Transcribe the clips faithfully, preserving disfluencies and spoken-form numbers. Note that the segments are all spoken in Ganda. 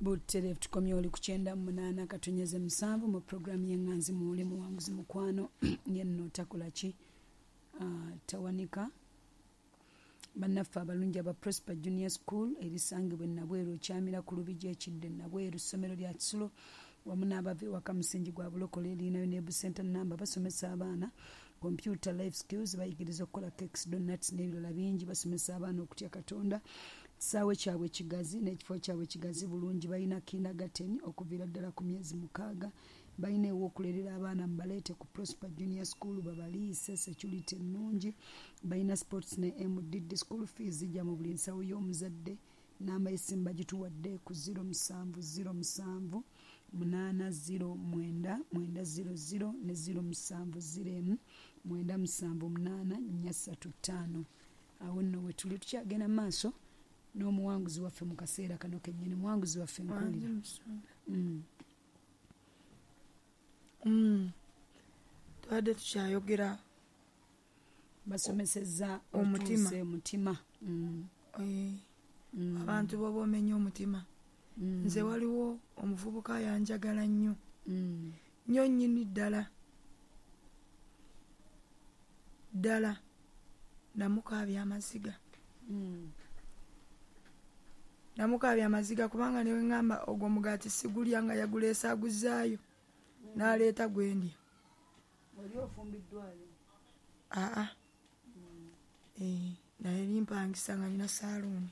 Butereevu tukomye oli ku kyenda mu munaana katonyeze musanvu mu puroguramu y'Eŋŋanzi Muwule. Muwanguzi mukwano yenno takola ki? Ah, tawanika. Bannaffe abalungi aba Prosper Junior School erisangibwa e Nabweru, okyamira ku Lubigi ekidde Nabweru, ssomero lya kisulo wamu n'abava ewaka, musingi gwa bulokole, erinayo ne center namba. Basomesa abaana computer, life skills, bayigiriza okukola cakes, donuts n'ebirala bingi. Basomesa abaana okutya Katonda. Kisaawe kyabwe kigazi n'ekifo kyabwe kigazi bulungi. Balina kindergarten okuviira ddala ku myezi mukaaga. Balina ew'okulerera abaana. Mubaleete ku Prosper Junior School babaliise, security ennungi. Balina sports ne M D D. School fees zijja mu buli nsawo y'omuzadde. Namba y'essimu bagituwadde ku zero musanvu zero musanvu munaana zero mwenda mwenda zero zero ne zero musanvu zero emu mwenda musanvu munaana nnya ssatu ttaano. Awo nno we tuli, tukyagenda mu maaso n'omuwanguzi waffe mu kaseera kano kennyini. Muwanguzi waffe, nkuwulira. Mm. Mm. Tubadde tukyayogera. Basomesezza omutima. Otuuse omutima. Mm. Eh, Mm. abantu boba omenya omutima. Mm. Nze waliwo omuvubuka yanjagala nnyo Mm. nnyo nnyini ddala ddala. Namukaabya amaziga. Mm. Namukaabya amaziga kubanga newe ŋŋamba ogwo omugaati sigulya, nga yaguleesa aguzaayo n'aleeta gwendya. Oli ofumbiddwayo? Aa, Eh, naye limpangisa nga nina saaluuni.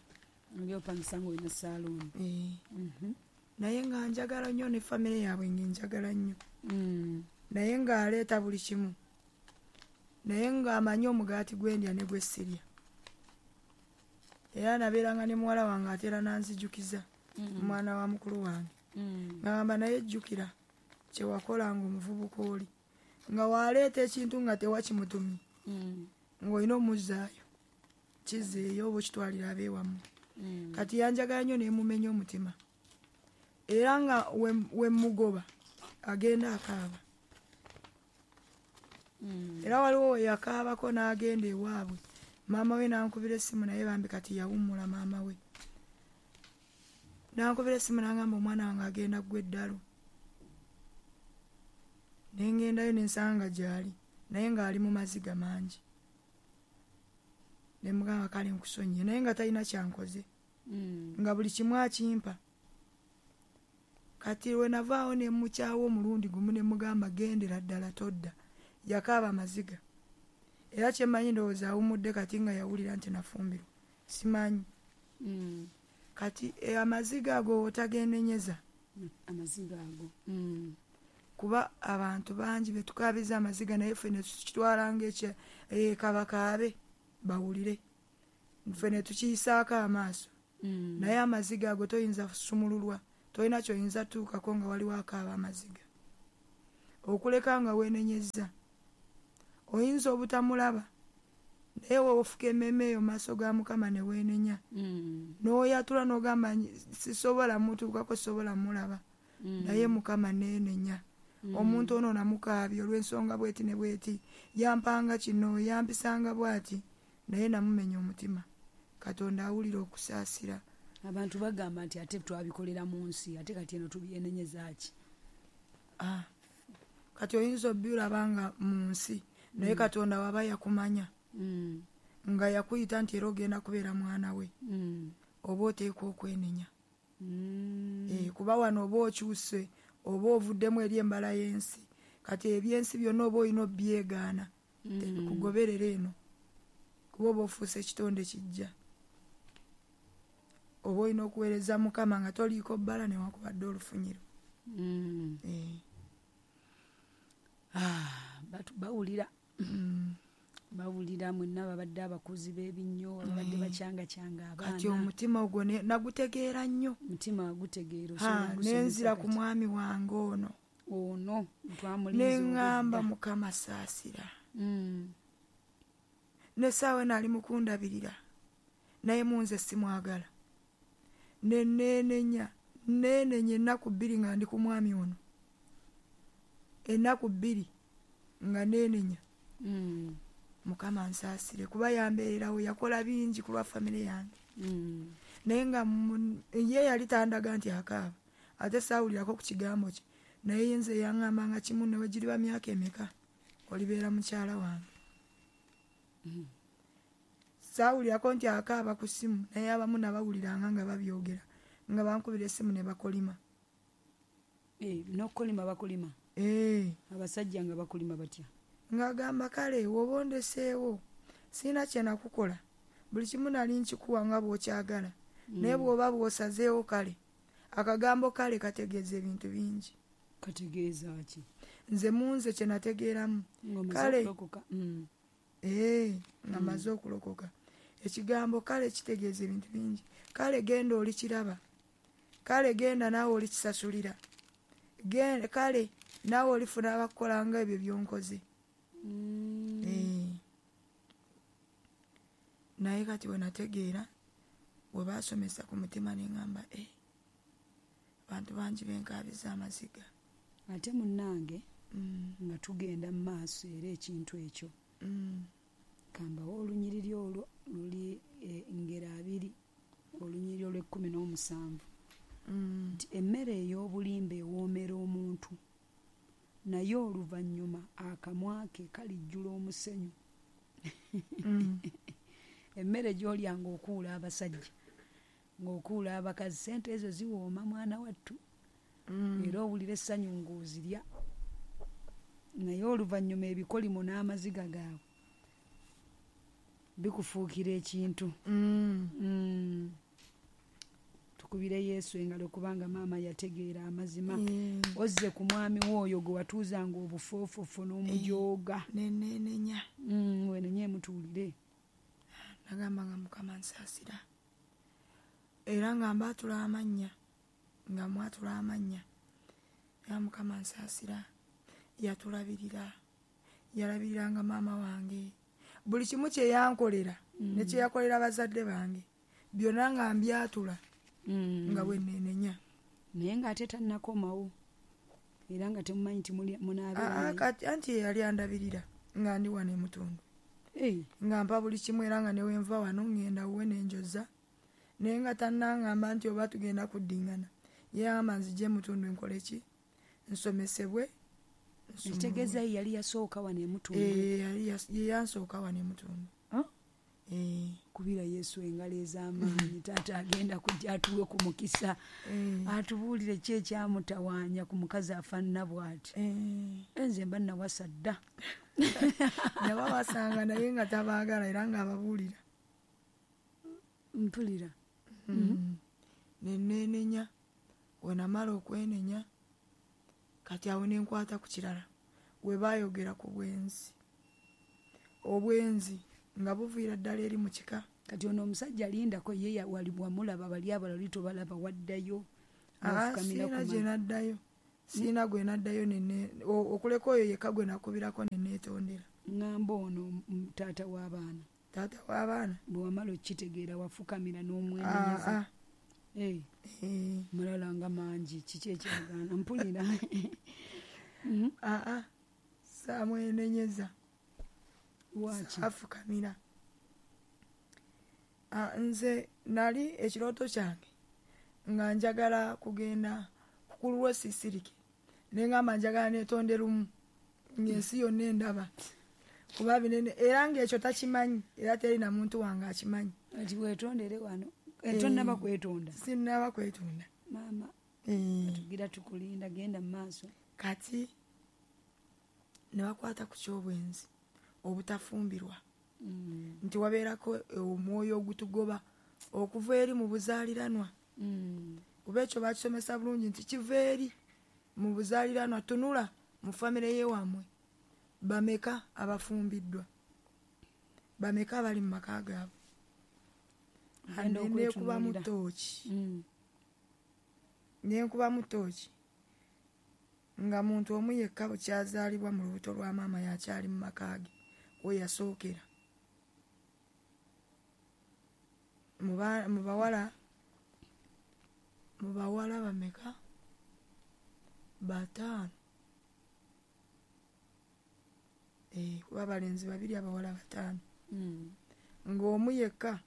Oli opangisa nga olina saaluuni. Eh, Mhm. naye nga njagala nnyo ne famire yaabwe, nga njagala nnyo, Mm. naye ng'aleeta buli kimu, naye ng'amanyi omugaati gwendya ne gwe sirya. Era nabeeranga ne muwala wange, ate era nanzijukiza, omwana wa mukulu wange, Mm. ngamba naye jjukira kyewakolanga omuvubuka oli, nga waleeta ekintu nga tewakimutumye, Mm. ng'olina omuzzaayo, kizeeyo oba okitwalira abeewammwe. Mm. Kati yanjagala nnyo nemumenya omutima, era nga we- we mugoba agenda akaaba. Mm. Era waliwo we yakaabako n'agenda ewaabwe, maama we nankubira essimu, naye bambi kati yawummula. Maama we nankubira essimu nangamba omwana wange agenda ggwa eddalu. Nengendayo nensanga gyali, naye ng'ali mu maziga mangi. Nemugamba kale nkusonyiye, naye nga talina kyankoze, Mm. nga buli kimu akimpa. Kati lwe navaawo nemukyawa omulundi gumu, nemugamba gendera ddala todda. Yakaaba amaziga, era kyemmanyi ndowooza awummudde kati nga yawulira nti nafumbirwa, simanyi. Mm. Kati eh, amaziga ago otagenenyeza. Amaziga ago. Mm. Kuba abantu bangi betukabiza amaziga, naye ffe netukitwala ngaekya eh, kabakaabe bawulire, ffe netukiyisaako amaaso. Mm. Naye amaziga ago toyinza kusumululwa, tolina kyoyinza tuukako nga waliwo akaaba amaziga, okuleka nga weenenyezza. Oyinza obutamulaba, naye weofuka emmeeme eyo mu maaso ga Mukama ne weenenya, Mm. n'oyatula n'ogamba sisobola mutuukako, sobola mulaba, Mm. naye Mukama neenenya. Mm. Omuntu ono namukaabya olw'ensonga bweti ne bweti, yampanga kino, yampisanga bwati, naye namumenya omutima. Katonda awulira okusaasira. Abantu bagamba nti ate twabikolera mu nsi, ate kati eno tubyenenyeza ki? Ah, kati oyinza obbiraba nga mu nsi, naye Katonda waba yakumanya, Mm. nga yakuyita nti era ogenda kubeera mwana we, Mm. oba oteekwa okwenenya. Mm. Eh, kuba wano oba okyuse, oba ovuddemu eri embala y'ensi. Kati ebyensi byonna oba olina obyegaana, Mm. tebikugoberera eno, kuba oba ofuuse ekitonde kijja. Oba olina okuweereza Mukama nga toliiko bbala newankubadde olufunyiro. Mm. Eh. Ah, batu- bawulira Mm. bawulira mwenna babadde abakuzi b'ebinnyo, ababadde bakyangakyanga Kati abaana. Omutima ogwo ne- nagutegeera nnyo. Mutima gutegeera. Ha, Osobola ogusomesa. Nenzira ku Kati. mwami wange ono. Ono twamulinze Neŋŋamba obwedda. Mukama saasira. Mm. Nesaawa eno ali mukundabirira, naye munze simwagala. Neneenenya, neenenya ennaku bbiri nga ndi ku mwami ono, ennaku bbiri nga neenenya. Mm. Mukama nsaasire, kuba yambeererawo, yakola bingi ku lwa famire yange, Mm. naye nga mu- ye yali tandaga nti akaaba. Ate saawulirako ku kigambo kye, naye nze yaŋŋambanga kimu, ne wegiriba myaka emeka olibeera mukyala wange. Mm. Saawulirako nti akaaba ku ssimu, naye abamu nabawuliranga nga babyogera, nga bankubira essimu ne bakolima. Eh, n'okukolima bakolima? Eh. Abasajja nga bakolima batya? Ng'agamba kale woba ondeseewo sirina kye nakukola, buli kimu nali nkikuwa nga bw'okyagala, Mm. naye bw'oba bw'osazeewo kale. Akagambo kale kategeeza ebintu bingi. Kategeeza ki? Nze mu nze kye nategeeramu. Ng'omaze Kale. okulokoka. Mm. Eh, nga Mm. mmaze okulokoka. Ekigambo kale kitegeeza ebintu bingi. Kale genda olikiraba, kale genda naawe olikisasulira, Gen-, kale naawe olifuna abakukola nga ebyo by'onkoze. Mm. Eh. Naye kati bwe nategeera, bwe baasomesa ku mutima ne ŋŋamba, eh, abantu bangi benkaabiza amaziga. Ate munnange, Mm. nga tugenda mu maaso era ekintu ekyo. Mm. Kambawo olunyiriri olwo luli, eh, ngero abiri, olunyiriri olw'ekkumi n'omusanvu. Mm. Nti emmere ey'obulimba ewoomera omuntu, naye oluvannyuma akamwa ke kalijjula omusenyu. Mm. Emmere gy'olya ng'okuula abasajja, ng'okuula abakazi, ssente ezo ziwooma mwana wattu. Mm. Era owulira essanyu ng'ozirya, naye oluvannyuma ebikolimo n'amaziga gaabwe bikufuukira ekintu. Mm. Mm. Tukubire Yesu engalo kubanga maama yategeera amazima. Mm. Ozze ku mwami w'oyo gwe watuuzanga obufoofofo n'omujooga. Eh, nenenenya. Mm, wenenye mutuulire. Nagamba nga Mukama nsaasira. Era nga mbaatula amannya, nga mwatula amannya. Era Mukama nsaasira, yatulabirira, yalabiriranga maama wange. Buli kimu kye yankolera, Mm. ne kye yakolera bazadde bange, byonna nga mbyatula, Mm. nga bwe nneenenya. Naye ng'ate tannakomawo, era nga temumanyi nti muli-, munaabeera Aa, naye. kati anti ye yali andabirira nga ndi wano e Mutundu. Eh. Nga mpa buli kimu era nga ne we nva wano ŋŋenda wuwe ne njoza. Naye nga tannaŋŋamba nti oba tugenda kuddingana. Ye yagamba nzije e Mutundu nkole ki? Nsomesebwe, nsomwe. Ekitegeeza ye yali yasooka wano e Mutundu. Eh, yali yas-, ye yansooka wano e Mutundu. Huh? Eh. Kubira Yesu engalo ez'amaanyi. Taata agenda kujja atuwe ku mukisa. Eh. Atubuulire ki ekyamutawaanya ku mukazi afaanana bw'ati. Eh. Nze mba nawasa dda. Yabawasanga naye nga tabaagala era ng'ababuulira. Mpulira. Mm. Mm-hmm. Ne neenenya, we namala okwenenya, kati awo ne nkwata ku kirala. We baayogera ku bwenzi. Obwenzi nga buviira ddala eri mu kika. Kati ono omusajja alindako ye ya-, wali wamulaba, bali abalala oli tobalaba, waddayo, Ah, n'afukamira sirina ku gye ma- naddayo. Sirina gwe naddayo ne ne-, o-, okuleka oyo yekka gwe nakubirako ne neetondera. Ŋŋamba ono m-, taata w'abaana. Taata w'abaana? Bwe wamala okukitegeera wafukamira n'omwenenyeza. Ah, ah. Eh. Eh. Mulala nga mangi, kiki ekyagaana? Mpulira. Mm-hmm. Ah, ah. Saamwenenyeza. Lwaki? Saafukamira. Ah, nze nali ekirooto kyange nga njagala kugenda kukululwa sisirike. Ne ngamba njagala neetonde lumu ng'ensi yonna endaba. Kuba binene, era ng'ekyo takimanyi, era teri na muntu wange akimanyi. Ati weetondere wano. Eh, Tonnaba kwetonda. Sinnaba kwetonda. Maama, Eh. tugira tukulinda, genda mu maaso. Kati ne bakwata ku ky'obwenzi obutafumbirwa. Mm. Nti wabeerako omwoyo ogutugoba okuva eri mu buzaaliranwa. Mm. Kuba ekyo bakisomesa bulungi nti kiva eri mu buzaaliranwa, tunula mu famire y'ewammwe. Bameka abafumbiddwa? Bameka abali mu maka gaabwe? Agenda Ande nekubamu okwetunuulira. ttooki. Mm. Nenkubamu ttooki. Nga muntu omu yekka bukyazaalibwa mu lubuto lwa maama y'akyali mu maka ge, we yasookera. Mu ba-, mu bawala, mu bawala bameka? Bataano. Eh, kuba abalenzi babiri, abawala bataano. Mm. Ng'omu yekka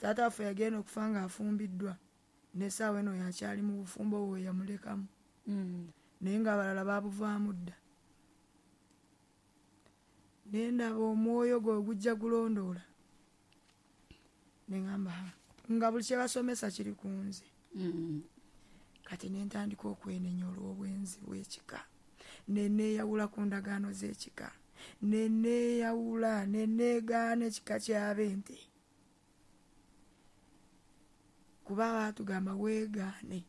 taata waffe yagenda okufa ng'afumbiddwa N'essaawa eno yakyali mu bufumbo bwe yamulekamu. Mm. Naye ng'abalala baabuvaamu dda. Ne ndaba omwoyo gwe gujja gulondoola. Ne ŋŋamba, nga buli kye basomesa kiri ku nze. Mm. Kati ne ntandika okwenenya olw'obwenzi bw'ekika. Ne neeyawula ku ndagaano z'ekika. Ne neeyawula, ne neegaana ekika ky'ab'ente. Kuba baatugamba weegaane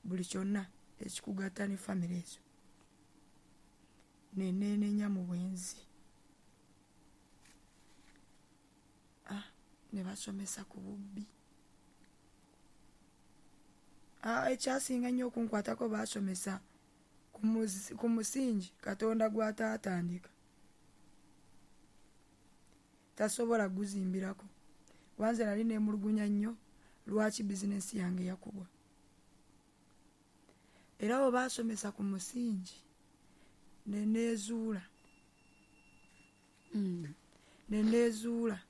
buli kyonna ekikugatta ne famire ezo. Ne neenenya mu bwenzi. Ah, ne basomesa ku bubbi. Ah, ekyasinga nnyo okunkwatako baasomesa ku muzi-, ku musingi Katonda gw'ataatandika. Tasobola guzimbirako. Wanze nali neemulugunya nnyo lwaki bizinensi yange yakubwa. Era abo baasomesa ku musingi ne neezuula. Mm. Ne neezuula.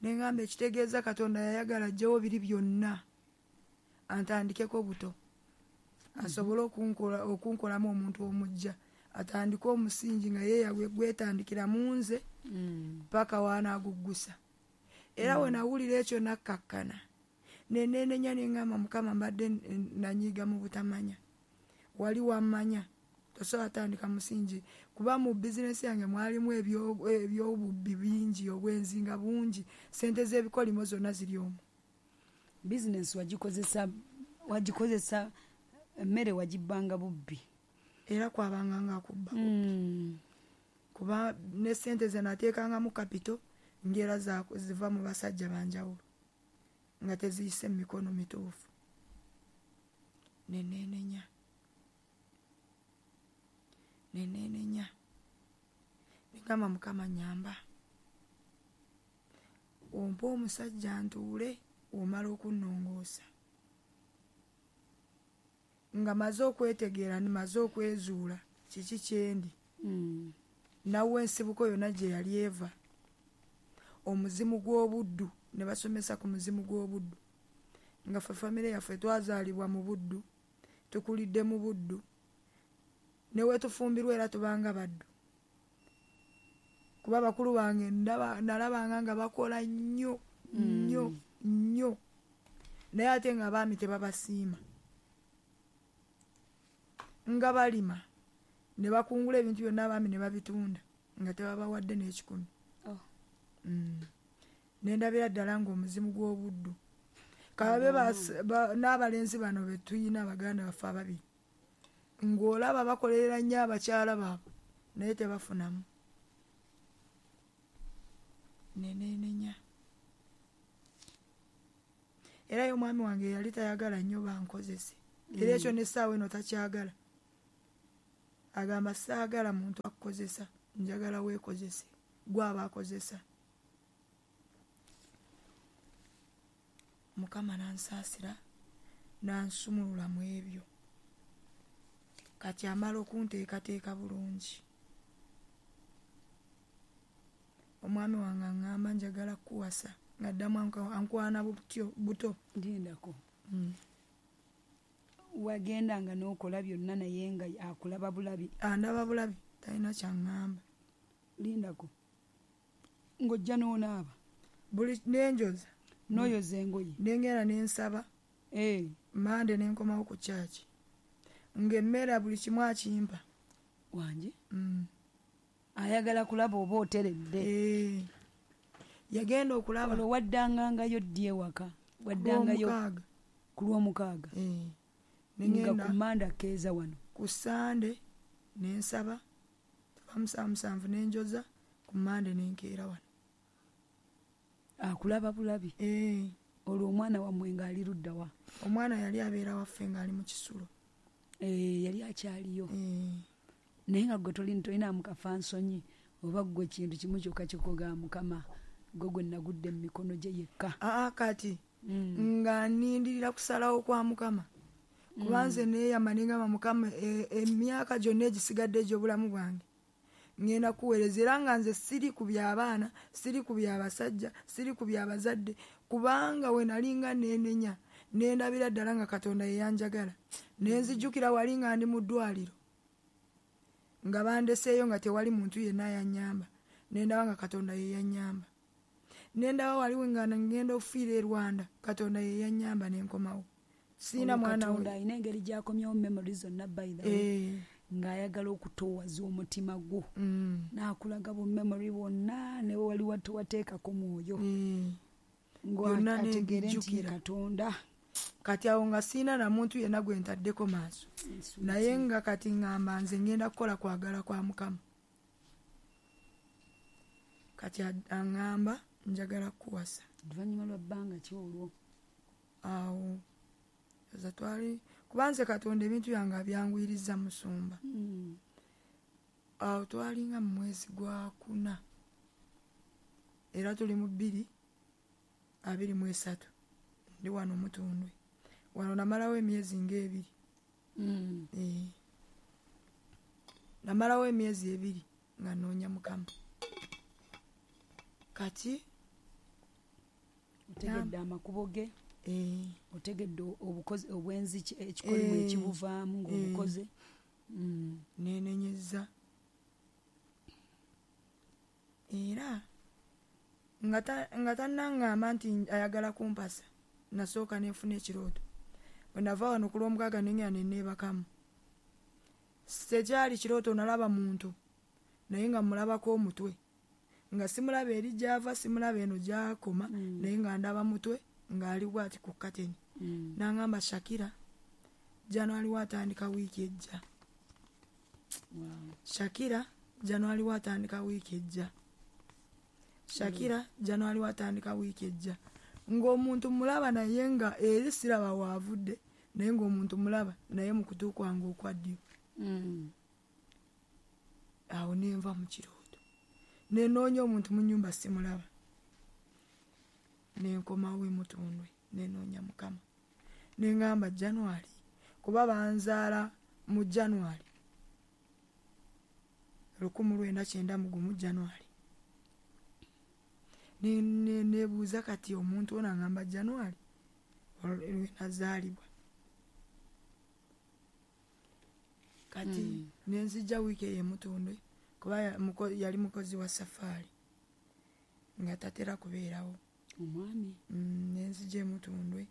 Ne ŋŋamba ekitegeeza Katonda yayagala aggyewo biri byonna antandikeko buto. Asobole okunkola, okunkolamu omuntu omujja. Atandike omusingi nga ye yagwe gwetandikira mu nze Mm. paka w'anaaguggusa. Era Mm. we nawulira ekyo nakkakkana. Ne neenenya ne ŋŋamba Mukama mbadde n-, n-, nanyiiga mu butamanya. Wali wammanya. Tosobola tandika musingi. Kuba mu bizinensi yange mwalimu ebyo-, eby'obubbi bingi, obwenzi nga bungi. Ssente z'ebikolimo zonna ziri omwo. Bizinensi wagikozesa, wagikozesa emmere wagibbanga bubbi. Era kwabanga nga akubba bubbi. Mm. Kuba ne ssente ze nateekangamu kapito ng'era za-, ziva mu basajja ba njawulo nga teziyise mu mikono mituufu. Ne neenenya. Ne neenenya. Ne ŋŋamba Mukama nnyamba. Ompe omusajja ntuule omala okunnongoosa. Nga maze okwetegeera, maze okwezuula kiki kye ndi. Mm. Nawe ensibuko yonna gye yali eva. Omuzimu gw'obuddu, ne basomesa ku muzimu gw'obuddu. Nga ffe famire yaffe twazaalibwa mu buddu, tukulidde mu buddu. Ne we tufumbirwa era tubanga baddu. Kuba bakulu bange ndaba, nalabanga nga bakola nnyo, nnyo, Mm. nnyo. Naye ate nga abaami tebabasiima. Nga balima, ne bakungula ebintu byonna abaami ne babitunda, nga tebabawadde n'ekikumi. Oh. Mm. Ne ndabira ddala ng'omuzimu gw'obuddu. Kababe Mm. bas-, ba-, n'abalenzi bano be tuyina baganda baffe ababiri. Ng'olaba bakolerera nnyo abakyala baabwe, naye tebafunamu. Ne neenenya. Era ye omwami wange yali tayagala nnyo bankozese. Era ekyo Mm. n'essaawa eno takyagala. Agamba saagala muntu akukozesa, njagala weekozese, gw'aba akozesa. Mukama n'ansaasira, n'ansumulula mu ebyo. Kati amala okunteekateeka bulungi. Omwami wange aŋŋamba njagala kukuwasa, ng'addamu anka-, ankwana butyo, buto. Ndindako. Mm. Wagendanga n'okola byonna naye nga akulaba bulabi. Andaba bulabi, talina ky'aŋŋamba. Lindako. Ng'ojja n'onaaba. Buli n'enjoza. N'oyoza engoye. Nengera ne nsaba. Eh. Mande ne nkomawo ku kyaki. Ng'emmere buli kimu akimpa. Wange? Mm. Ayagala kulaba oba oteredde. Eh. Yagenda okulaba. Olwo waddangangayo ddi ewaka? Waddangayo Ku lwomukaaga. Ku lwomukaaga. Eh. Ne Nga ngenda ku Mande akeeza wano. Ku Sande ne nsaba. Tuva musanvu musanvu ne njoza, ku Mande ne nkeera wano. Akulaba bulabi. Eh. Olwo omwana wammwe ng'ali ludda wa? Omwana yali abeera waffe ng'ali mu kisulo. Eh, yali akyaliyo. Eh. Naye nga ggwe toli, tolinaamu kafansonyi oba ggwe kintu kimu kyokka kikugamba Mukama, ggwe gwe nagudde mu mikono gye yekka. Aa, kati, Mm. nga nnindirira kusalawo kwa Mukama. Kuba Mm. nze neeyama ne ngamba Mukama, e, emyaka gyonna egisigadde egy'obulamu bwange ngenda kuweereza, era nga nze siri ku by'abaana, siri ku by'abasajja, siri ku by'abazadde, kubanga we nali nga neenenya, Nendabira ddala nga Katonda yeyanjagala. Nenzijjukira wali nga ndi mu ddwaliro nga bandeseeyo nga tewali muntu yenna yannyamba, nendaba nga Katonda yeyannyamba. Nendaba waliwo nga ngenda okufiira e Rwanda, Katonda yeyannyamba nenkomawo. Siina mwana we. Katonda alina engeri gy'akomyawo memory zonna by the way, ng'ayagala okutoowaza omutima gwo, n'akulaga bu memory bwonna ne wali wateekako mwoyo, ng'ategeere nti Katonda. Kati awo nga siina na muntu yenna gwe ntaddeko maaso, naye nga kati ŋŋamba nze ngenda kukola kwagala kwa Mukama. Kati aŋŋamba njagala kukuwasa. Oluvannyuma lwa bbanga ki olwo? Awo eza twali kuba nze Katonda ebintu byange abyanguyiriza musumba. Awo twalinga mu mwezi gwa kuna, era tuli mu bbiri abiri mu esatu, ndi wano Mutundwe. Wano namalawo emyezi ng'ebiri. Eh. Namalawo emyezi ebiri nga nnoonya Mukama. Kati otegedde amakubo ge, otegedde obukozi obwenzi ekikolimu ekibuvaamu ng'obukoze. Neenenyezza era nga tannaŋŋamba nti ayagala kumpasa, nasooka nenfuna ekirooto. Bwe nava wano ku Lwomukaaga ne ngenda ne neebakamu. Tekyali kirooto, nalaba muntu naye nga mmulabako omutwe, nga simulaba eri gy'ava, simulaba eno gy'akoma, naye nga ndaba mutwe ng'ali bw'ati ku kateni. N'aŋŋamba, Shakira, January watandika wiiki ejja. Shakira, January watandika wiiki ejja. Shakira, January watandika wiiki ejja. Ng'omuntu mulaba naye nga eri siraba waavudde, naye ng'omuntu mulaba naye mu kutu kwange okwa ddyo. Awo ne nva mu kirooto, ne nnoonya omuntu mu nnyumba simulaba, ne nkomawo e Mutundwe ne nnoonya Mukama. Ne ŋŋamba January, kuba banzaala mu January lukumu lwenda kyenda mu gumu January. Nebuuza kati omuntu ono aŋŋamba January lwe nazaalibwa. Kati ne nzija wiiki eyo e Mutundwe, kuba yali mukozi wa safaari nga tatera kubeerawo. Omwami ne nzija e Mutundwe.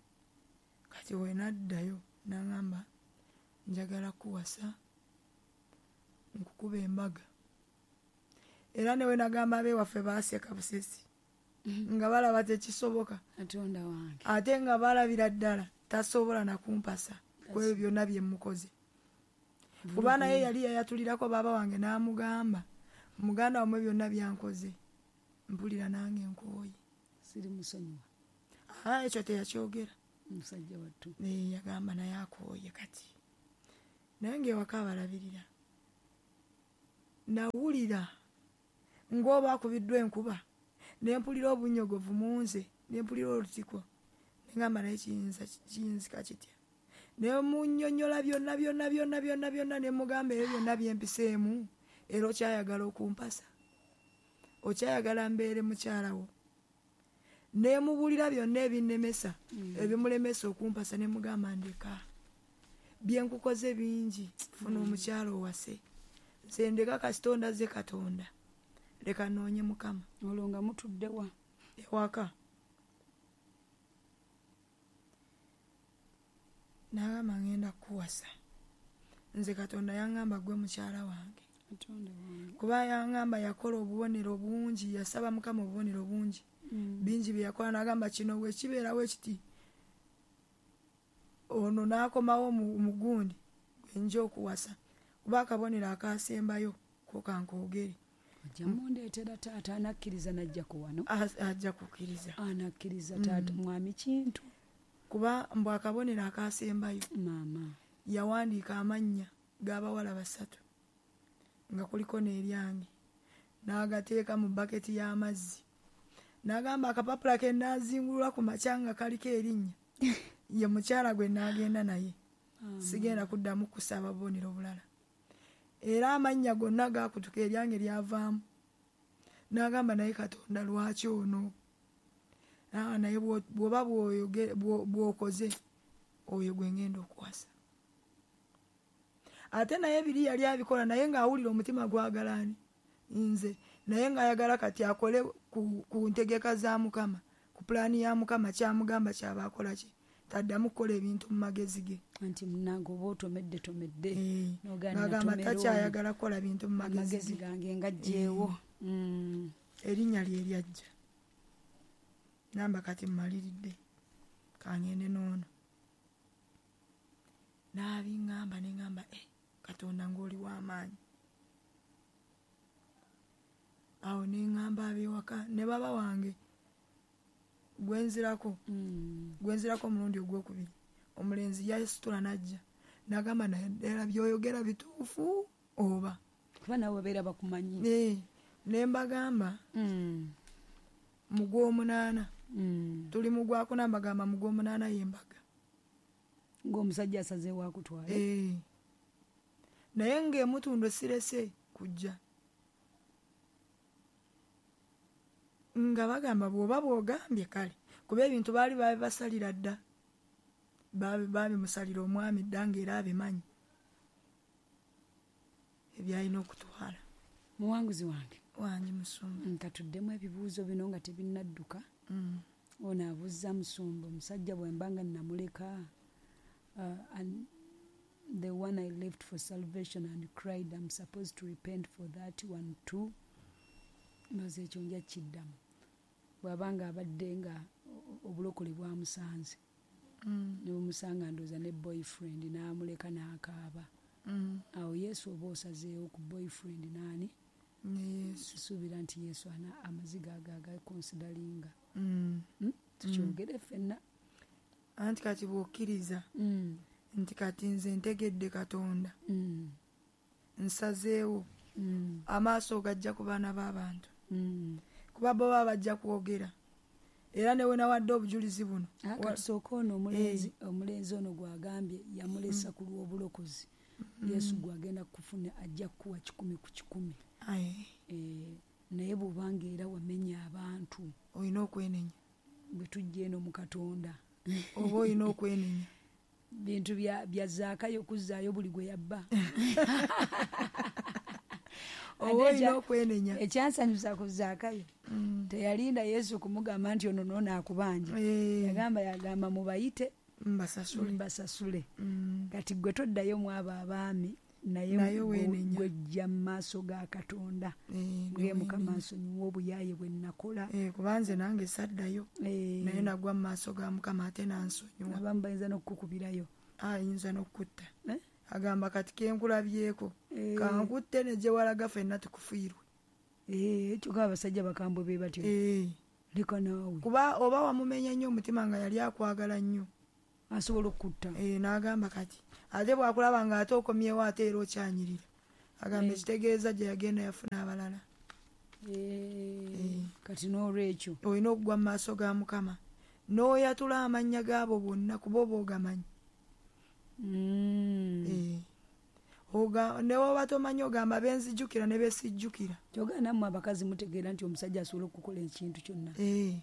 Kati we naddayo n'aŋŋamba njagala kuwasa, nkukuba embaga. Era ne we nagamba ab'ewaffe baaseka busesi, nga balaba tekisoboka. Katonda wange. Ate nga balabira ddala tasobola na kumpasa ku ebyo byonna bye mmukoze. Kuba naye yali yayatulirako baaba wange n'amugamba, muganda wammwe byonna byankoze, mpulira nange nkooye. Siri musonyiwa. Ah, ekyo teyakyogera. Musajja wattu. Naye yagamba naye akooye kati. Naye ng'ewaka abalabirira. Nawulira ng'oba akubiddwa enkuba, ne mpulira obunnyogovu mu nze, ne mpulira olutiko. Ne ŋŋamba naye kiyinza kiyinzika kitya? Ne munnyonnyola byonna byonna byonna byonna byonna, ne mugamba ebyo byonna bye mpiseemu, era okyayagala okumpasa, okyayagala mbeere mukyala wo. Ne mubuulira byonna ebinnemesa, ebimulemesa okumpasa, ne mugamba ndeka. Bye nkukoze bingi, funa omukyala owase. Nze ndeka kasita ondaze Katonda, leka nnoonye Mukama. Olwo nga mutudde wa? Ewaka. N'agamba ngenda kukuwasa. Nze Katonda yaŋŋamba ggwe mukyala wange. Katonda wange. Kuba yaŋŋamba yakola obubonero bungi, yasaba Mukama obubonero bungi. Bingi bye yakola, n'agamba kino bwe kibeerawo ekiti, ono n'akomawo mu gundi gwe nja okuwasa. Kuba akabonero akaasembayo ko kankoogere. Ajja mundeetera taata anakkiriza n'ajjako wano. Ajja kukkiriza. Anakkiriza taata mwami Kintu. Kuba mbu akabonero akaasembayo. Maama. Yawandiika amannya g'abawala basatu nga kuliko n'eryange, n'agateeka mu baketi y'amazzi. N'agamba akapapula ke nnaazingulula ku makya nga kaliko erinnya, ye mukyala gwe nnaagenda naye. Sigenda kuddamu kusaba bubonero bulala. Era amannya gonna gaakutuka, eryange lyavaamu. N'agamba naye Katonda lwaki ono? Naa naye bw'oba bw'okoze oyo gwe ngenda okuwasa. Ate naye biri yali abikola naye ng'awulira omutima gwagala ani nze, naye ng'ayagala kati akole ku, ku ntegeka za Mukama, ku pulaani ya Mukama, kyamugamba kyaba akola ki, taddamu kukola ebintu mu magezi ge. Anti munnange oba otomedde tomedde Eh, n'agamba takyayagala kukola bintu mu magezi amagezi ge. gange ngajjeewo. Mm. Erinnya lye lyajja namba kati mmaliridde kangende n'ono n'abiŋŋamba ne ŋŋamba eh, Katonda ng'oli w'amaanyi. Awo ne ŋŋamba ab'ewaka ne baba wange gwe nzirako Mm. gwe nzirako omulundi ogwokubiri omulenzi yasitula n'ajja n'agamba naye ddala by'oyogera bituufu oba kuba naawe babeera bakumanyi. Eh, ne mbagamba Mm. mu gw'omunaana Mm. tuli mu gwakuna mbagamba mu gw'omunaana y'embaga ng'omusajja asazeewo akutwale. Eh. Naye ng'emutundo sirese kujja nga bagamba bw'oba bw'ogambye kale kuba ebintu baali babibasalira dda, Babi- babimusalira omwami dda ng'era abimanyi ebyalina okutwala. Muwanguzi wange wange musumba nkatuddemu ebibuuzo bino nga tebinnadduka. Mm. Ono abuuza musumba, omusajja bwe mba nga namuleka uh, and the one I left for salvation and cried I'm supposed to repent for that one too. Ndowooza ekyo nja kiddamu bw'aba nga abadde nga obulokole bwamusanze Mm. ne bumusanga ndowooza ne boyfriend n'amuleka n'akaaba. Mm. Awo Yesu oba osazeewo ku boyfriend naani? Ne Yesu. Sisuubira nti Yesu ana amaziga ago agakonsidalinga. Mm. Mm? Tukyogere ffenna. Anti kati bw'okkiriza Mm. nti kati nze ntegedde Katonda Mm. nsazeewo Mm. amaaso gajja ku baana b'abantu Mm. kuba bo baba bajja kwogera era ne we nawadde obujulizi buno. Ah, Wa- kati sooka ono omulenzi, omulenzi ono gw'agambye yamulesa ku lw'obulokozi. Yesu gw'agenda kufuna ajja kukuwa kikumi ku kikumi. Aye. Eh, naye bw'obanga era wamenya abantu olina okwenenya bwe tujja eno mu Katonda oba olina okwenenya bintu bya, bya Zaakayo okuzzaayo buli gwe yabba. Oba Ate olina ekya- okwenenya. ekyansanyusa ku Zaakayo Mm. teyalinda Yesu kumugamba nti ono noono akubanja. Eh. Yagamba yagamba mubayite mbasasule. mbasasule. Mm. Kati gwe toddayo mu abo abaami naye Naye gwe- weenenya. gwejja mu maaso ga Katonda. Eh, Gwe Mukama weenenya. nsonyiwa obuyaaye bwe nakola. Eh, kuba nze nange saddayo. Eh. Naye nagwa mu maaso ga Mukama ate n'ansonyiwa. Abamu bayinza n'okukukubirayo. Ayinza n'okukutta. Eh? Agamba kati kenkulabyeko Eh. kankutte ne gye walaga ffenna tukufiirwe. Eh, kyokka abasajja bakambwe be batyo. Eh. Leka naawe. Kuba oba wamumenya nnyo omutima nga yali akwagala nnyo. Asobola okukutta. Eh, n'agamba kati ate bw'akulaba ng'ate okomyewo ate era okyanyirira. Agamba Eh. ekitegeeza gye yagenda yafuna abalala. Eh, Eh. kati n'olwekyo. Olina okugwa mu maaso ga Mukama n'oyatula amannya gaabo bonna kuba oba ogamanyi. Mm. Eh. Oga, ne bw'oba tomanyi ogamba benzijjukira ne besijjukira. Kyokka nammwe abakazi mutegeera nti omusajja asobola okukola ekintu kyonna. Eh.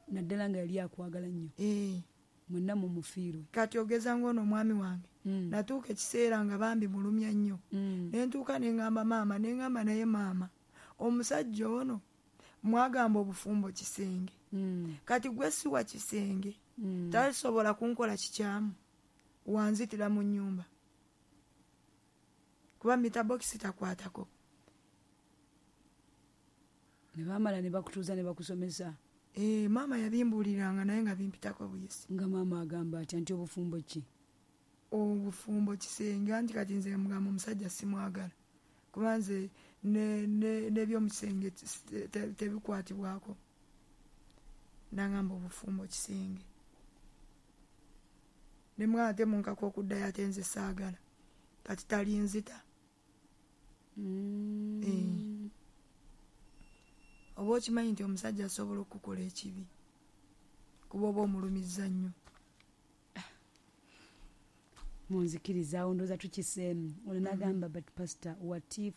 Naddala nga yali akwagala nnyo. Eh. Mwenna mumufiirwe. Kati ogeza ng'ono omwami wange. Mm. Natuuka ekiseera nga bambi mulumya nnyo. Mm. Ne ntuuka ne ŋŋamba maama, ne ŋŋamba naye maama, omusajja ono mwagamba obufumbo kisenge. Mm. Kati gwe si wa kisenge. Mm. Tasobola kunkola kikyamu. Wanzitira mu nnyumba. Kuba mita bokisi takwatako. Ne baamala ne bakutuuza ne bakusomesa. Eh, maama yabimbuuliranga naye nga bimpitako buyisi. Nga maama agamba atya nti obufumbo ki? Obufumbo kisenge, anti kati nze mugamba omusajja simwagala. Kuba nze n'ebyomukisenge tebikwatibwako. Nangamba obufumbo kisenge. Ne mugamba ate munkaka okuddayo ate nze saagala. Kati talinzita. Mm. Eh. Oba okimanyi nti omusajja asobola okukola ekibi kuba oba omulumizza nnyo. Munzikirizaawo ndowooza tukiseemu. Ono n'agamba, but pastor, what if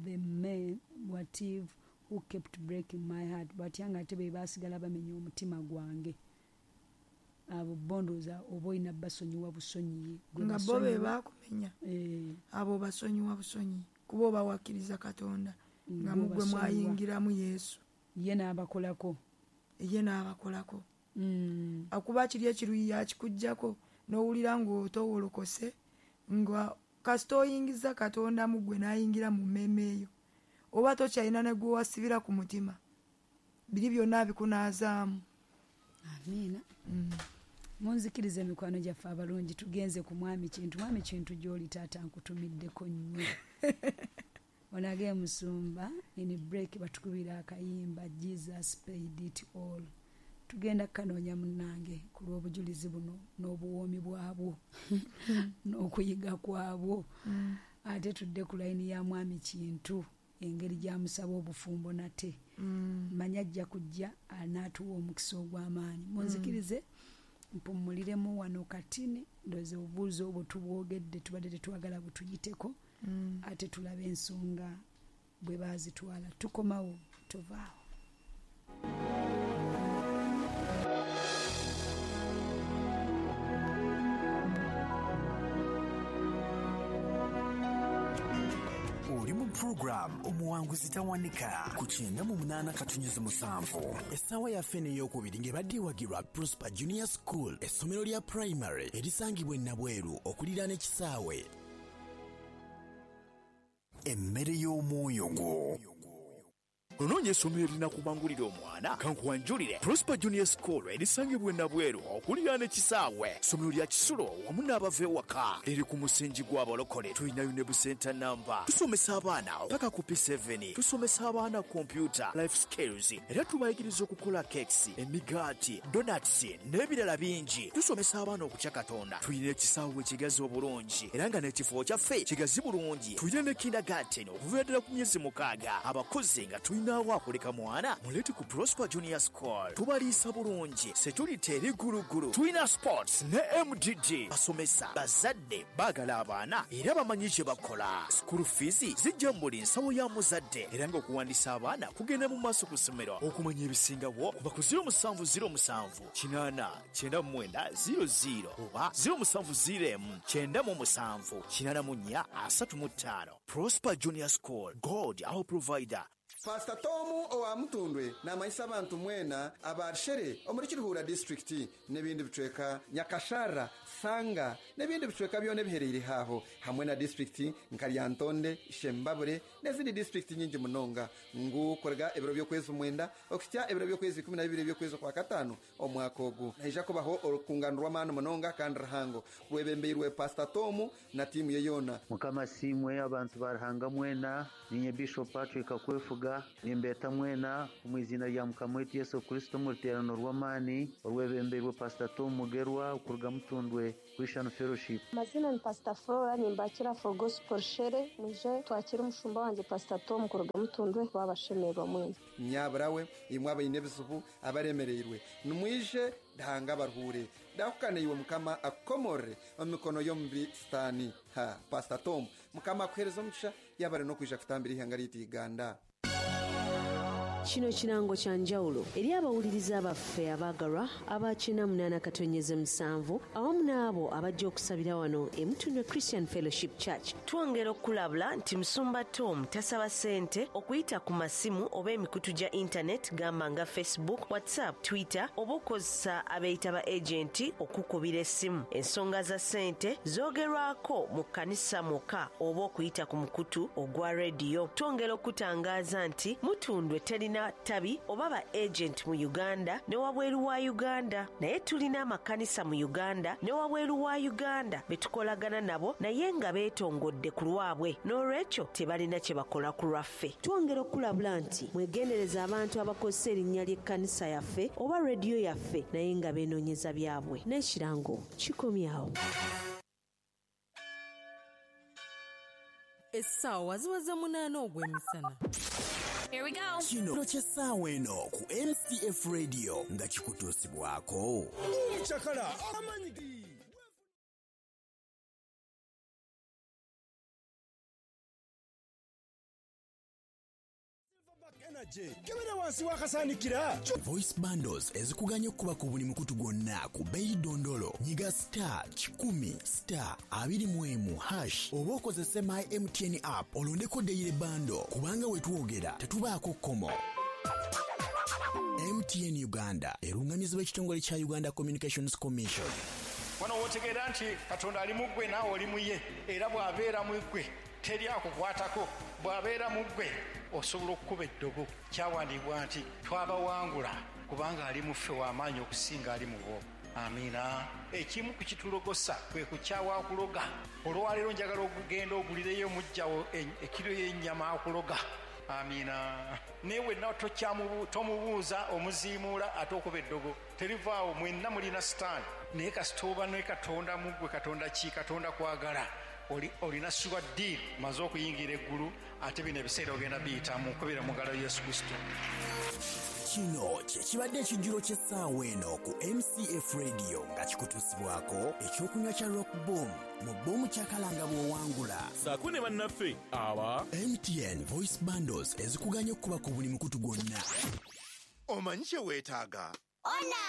the men, what if who kept breaking my heart? Batya nga ate be baasigala bamenya omutima gwange. Abo bondooza oba olina basonyiwa busonyiyi. Nga bo be baakumenya, Eh, abo basonyiwa busonyi kuba oba wakkiriza Katonda nga bo mugwe basonyiwa. Mwayingiramu Yesu. Ye n'abakolako. Ye n'abakolako. Mm. Akuba kiri ekiruyi yakikuggyako n'owulira ng'otowolokose, nga kasita oyingiza Katonda mu ggwe n'ayingira mu mmeeme eyo, oba tokyalina ne gwe wasibira ku mutima, biri byonna abikunaazaamu. Amiina. Munzikirize emikwano gyaffe abalungi, tugenze ku Mwami Kintu. Mwami Kintu, gy'oli taata nkutumiddeko nnyo. Onage musumba in break batukubira akayimba Jesus Paid It All. Tugenda kukanoonya munnange ku lw'obujulizi buno n'obuwoomi bwabwo n'okuyiga kwabwo. Ate tudde ku layini ya Mwami Kintu, engeri gy'amusaba obufumbo nate. Manya ajja kujja anaatuwa omukisa ogw'amaanyi. Munzikirize mpummuliremu wano katini, ndowooza obubuuzo obwo tubwogedde, tubadde tetwagala butuyiteko, ate tulabe ensonga bwe baazitwala. Tukomawo, tovaawo. Oli mu program Omuwanguzi Tawanika ku kyenda mu munaana katunyuzi musanvu. Essaawa yaffe n'eyokubiri ng'ebadde ewagirwa Prosper Junior School, essomero lya primary erisangibwa e Nabweru okuliraana ekisaawe. Emmere y'omwoyo gwo. Onoonya essomero erinakubangulira omwana? Kankuwanjulire Prosper Junior School erisangibwa e Nabweru okuliraana ekisaawe. Ssomero lya kisulo wamu n'abava ewaka, liri ku musingi gw'abalokole. Tulinayo ne busenta namba. Tusomesa abaana paka ku P seven. Tusomesa abaana computer, life skills, era tubayigiriza okukola cakes, emigaati, donuts n'ebirala bingi. Tusomesa abaana okutya Katonda. Tulina ekisaawe ekigazi obulungi era nga n'ekifo kyaffe kigazi bulungi. Tulina ne kindergarten okuviira ddala ku myezi mukaaga. Abakozi nga tulina akuleka mwana, muleete ku Prosper Junior School. Tubaliisa bulungi, security eri gulugulu. Tulina sports ne M D D. Basomesa bazadde baagala abaana era bamanyi kye bakola. School fees zijja mu buli nsawo ya muzadde, era ng'okuwandiisa abaana kugenda mu maaso ku ssomero. Okumanya ebisingawo kuba ku zero musanvu zero musanvu kinaana kyenda mu mwenda zero zero oba zero musanvu zero emu kyenda mu musanvu kinaana mu nnya asatu mu ttaano. Prosper Junior School, God our provider. Pastor Tomu owa Mutundwe n'amanyisa abantu mwena abarshere omuri Kiruhura District n'ebindi bicweka, Nyakashara, Sanga n'ebindi bicweka byona ebihereire haho, hamwe na district nka Lyantonde, Shembabure n'ezindi district nyingi munonga, ngu korega ebiro by'okwezi omwenda okutya ebiro by'okwezi ikumi na bibiri by'okwezi kwa katano omwaka ogu, naija kubaho orukungano rw'amaani munonga kandi ruhango rwebembeirwe Pastor Tomu na tiimu ye yoona. Mukama simwe abantu baruhanga mwena. Ninye Bishop Patrick Akwefuga, nimbeta mwena omu izina rya Mukama waitu Yesu Kristo mu ruteerano rw'amaani orwebembeirwe Pastor Tom Mugerwa okuruga Mutundwe Christian Fellowship. Amazina ni Pastor Flora, nimbakira for Gospel Shere. Mwije twakira umushumba wanje Pastor Tom kuruga Mutundwe, babashemerwa mwena. Nyaburawe imwe abaine ebizibu abaremereirwe, nimwije dahanga baruhure dahukane iwe Mukama akomore omu mikono y'omubi Sitaani. Ha Pastor Tom, Mukama akuhereza omugisha yabare n'okwija kutambira ihanga ryaitu Uganda. Kino kirango kya njawulo eri abawuliriza baffe abaagalwa aba kyenda munaana katonyeze musanvu awamu n'abo abajja okusabira wano e Mutundwe Christian Fellowship Church. Twongera okulabula nti Musumba Tom tasaba ssente okuyita ku masimu oba emikutu gya intaneti gamba nga Facebook, WhatsApp, Twitter oba okozesa abeeyita ba agenti okukubira essimu. Ensonga za ssente zoogerwako mu kkanisa mwokka oba okuyita ku mukutu ogwa rediyo. Twongera okutangaaza nti Mutundwe terina tabi oba ba agent mu Uganda ne wabweru wa Uganda, naye tulina amakanisa mu Uganda ne wabweru wa Uganda be tukolagana nabo naye nga beetongodde ku lwabwe, n'olwekyo tebalina kye bakola ku lwaffe. Twongera okulabula nti mwegendereza abantu abakozesa erinnya ly'ekkanisa yaffe oba rediyo yaffe naye nga beenoonyeza byabwe. N'ekirango kikomyawo. Essaawa ziweze munaana ogw'emisana. Here we go. Kino ky'essaawa eno ku M C F Radio nga kikutuusibwako Chakala amanyi. Energy kebera wansi w'akasaanikira. Voice bundles ezikuganya okukuba ku buli mukutu gwonna ku bbeeyi dondolo. Nyiga star kikumi star abiri mu emu hash oba okozese My M T N app olondeko daily bundle, kubanga we twogera tetubaako kkomo. M T N Uganda erungamizibwa ekitongole kya Uganda Communications Commission. Wano wotegeera nti Katonda ali mu ggwe, naawe oli mu ye, era bw'abeera mu ggwe teri akukwatako. Bw'abeera mu ggwe osobola okukuba eddogo. Kyawandiibwa nti twabawangula kubanga ali mu ffe w'amaanyi okusinga ali mu bo. Amiina. Ekimu ku kitulogosa kwe kukyawa akuloga. Olwaleero njagala ogenda ogulireyo mujjawo ekiro y'ennyama akuloga. Amiina. Naye wenna tomubuuza, omuziimuula ate okuba eddogo terivaawo. Mwenna mulina sitaani, naye kasita oba ne Katonda mu ggwe. Katonda ki? Katonda kwagala. Olina sure deal, maze okuyingira eggulu, ate bino ebiseera ogenda biyitamu kubira mu ngalo Yesu Kristo. Kino kye kibadde ekijjulo ky'essaawa eno ku M C F Radio, nga kikutuusibwako ekyokunywa kya Rock Boom mu Boom Kyakalanga bw'owangula. Saako ne bannaffe aba M T N Voice Bundles ezikuganya okukuba ku buli mukutu gwonna. Omanyi kye weetaaga? Ona.